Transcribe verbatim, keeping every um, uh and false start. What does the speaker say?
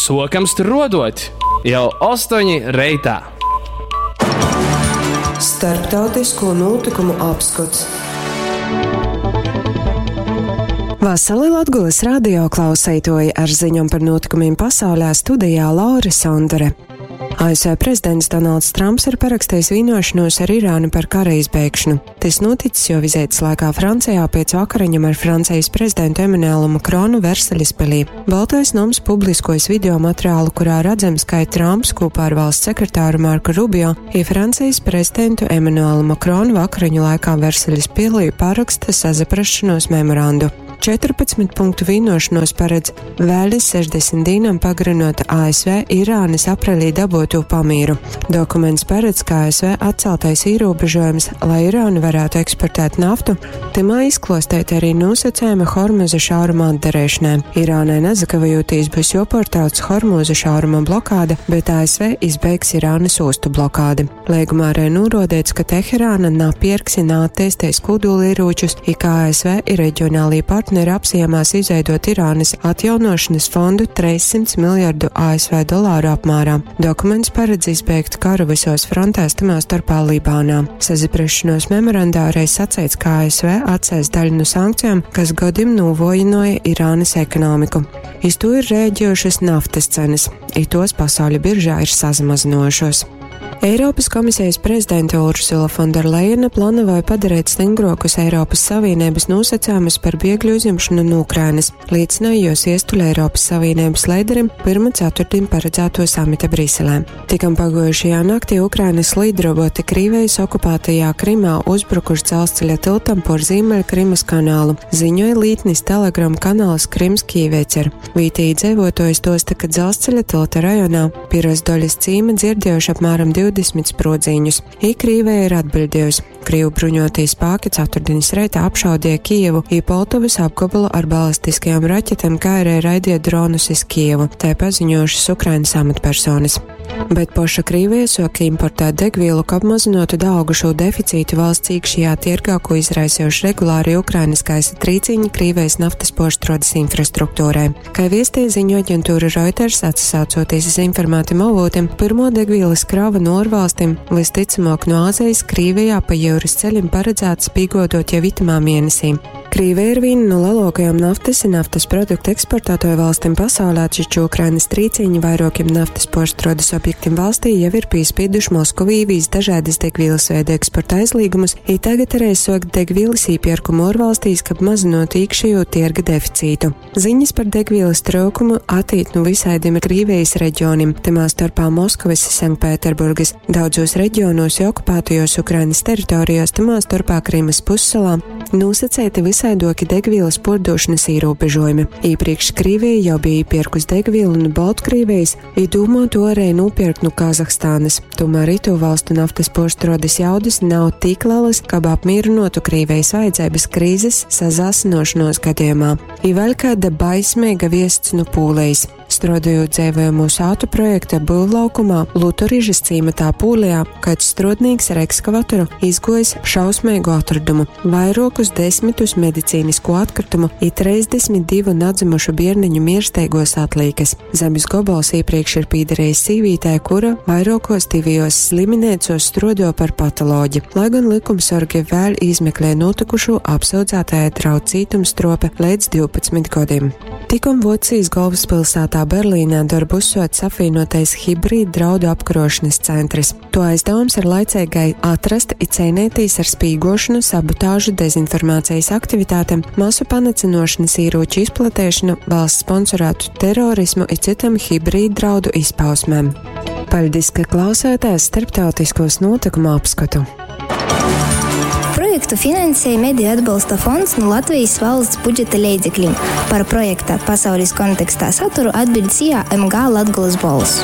Sokam struodot jau ostoņi reitā. Starptautisko notikumu apskots. Vasali Latgulas radio klauseitoji ar ziņom par notikumiem pasaulē studijā Laura Sondore. A S V prezidents Donalds Trumps ir parakstījis vienošanos ar Irānu par kara izbeigšanu. Tas noticis jo vizītes laikā Francijā pēc vakariņam ar Francijas prezidentu Emanuelu Makronu Versaļas pilī. Baltais noms publiskojas video materiālu, kurā redzams, kā Trumps kopā ar valsts sekretāru Marku Rubio i Francijas prezidentu Emanuelu Makronu vakariņu laikā Versaļas pilī paraksta sazaprašanos memorandu. četrpadsmit punktu vienošanos paredz vēl sešdesmit dīnam pagarinot A S V Irānas aprelī dabūto pamīru. Dokuments paredz, ka A S V atceltais ierobežojums, lai Irāna varētu eksportēt naftu, timā izklostēt arī nosacījuma Hormuza šauruma atdarīšanai. Irānai nezakavējoties būs joportauts Hormuza šauruma blokāde, bet A S V izbeigs Irānas ostu blokādi. Līgumā arī norādīts, ka Teherāna napirks un attīstīs kodolieročus, i kā A S V ir reģionālī partneri apsiemās izveidot Irānas atjaunošanas fondu trīs simts miljardu A S V dolāru apmērā. Dokuments paredz izbeigt karu visos frontēs, tamā starpā Libānā. Saziprašanos memorandā arī sacīts, ka A S V atcēs daļu no sankcijām, kas godim novojināja Irānas ekonomiku. Iz to ir rēģējušas naftas cenas, i tos pasauļa biržā ir sazamazinojušos. Eiropas komisijas prezidente Ursula Fonderlejena plānoja padarīt stingrokus Eiropas Savienības nosacījumus par bēgļu uzņemšanu no Ukrainas, liecināja jos iestuļa Eiropas Savienības līderim pirmā ceturtdien paredzēto samita Briselē. Tikam pagojušajā naktī Ukrainas lidroboti Krīvijas okupētajā Krimā uzbrukuši dzelzceļa tiltam por Ziemeļkrimas kanālu, ziņoja lītnis Telegram kanāls Krimskij Vecer. Vītī dzīvotojs tosta, ka dzelzceļa tilta rajonā Pirosdoļas cīma dzirdējuši apmēram divdesmit sprodziņus. I Krīvija ir atbildējusi. Krievu bruņotie spēki ceturtdienas reitā apšaudīja Kijevu, i Poltavas apgabalu ar balistiskajām raķetēm, kā arī raidīja dronus iz Kijevu, tā paziņojušas Ukrainas amatpersonas. Bet poša Krīvija soka importēt degvielu, ka apmazinotu daugušo deficītu valsts iekšējā tirgā, ko izraisījuši regulāri Ukrainas gaisa trīciņi Krīvijas naftas poštrodas infrastruktūrai. Kā viestīja ziņu aģentūra Reuters, atsaucoties uz informētiem avotiem, pirmo degvielas krava no ārvalstīm, visticamāk no Āzijas, Krīvijā pa jūras ceļiem paredzēts pīgodot jau itamā mēnesī. Krīvija ir viena no lielākajām naftas un naftas produktu eksportētāju valstīm pasaulē, taču Ukrainas trīciņi vairākiem naftas poštrodas objektiem valstī jau ir piespieduši Moskavu īvīs dažādas degvielas veida eksporta aizliegumus, i tagad arī sokt degvielas īpirkumu ārvalstīs, kab mazinot iekšējo tirga deficītu. Ziņas par degvielas trūkumu attīt no visādiem Krīvijas reģioniem, timā starpā Moskavas, Sanktpēterburgas, daudzos reģionos jau okupētajos Ukrainas teritorijās, timā starpā Krimas pussalā, nosacēti visaidoki degvielas pordošanas ierobežojumi. Iepriekš Krievija jau bija iepirkus degvielu no Baltkrievijas, i domā to arī nopirkt no Kazahstānas. Tomēr itu valstu naftas poštrodas jaudas nav tik lielas, kab apmierinotu Krievijas vajadzības krīzes sazāsinošanos gadījumā. I vēl kāda baismīga viests no Pūlijas. Strādājot dzīvojamo sātu projekta būvlaukumā Lutorižas cīmatā Pūlijā, kāds strodnīgs ar ekskavatoru izgojis šausmīgu atradumu – vairokus desmitus medicīnisko atkritumu i trīsdesmit divu nadzimušu bierniņu miersteigos atlīkas. Zemes gobals iepriekš ir pīderējis sīvītē, kura vairākos divijos sliminēcos strodo par patoloģi. Lai gan likumsorgi vēl izmeklē notikušo, apsūdzētāja draud cietumstrope līdz divpadsmit gadiem. Tikom Vocijas galvaspilsētā Berlīnē darbu uzsots apvienotais hibrīd draudu apkarošanas centrs. To aizdevums ir laicīgai atrast i cīnīties ar spīgošanu, sabotāžu, dezinformācijas aktivitātēm, masu panicinošanas ieroču izplatēšanu, valsts sponsorētu terorismu i citam hibrīd draudu izpausmēm. Paļdis, ka klausāties starptautiskos notikumu apskatu. Projektu finansēja Mediju atbalsta fonds no Latvijas valsts budžeta leidzekļiem. Par projekta pasaules kontekstā saturu atbild S I A M G Latgolas Bolss.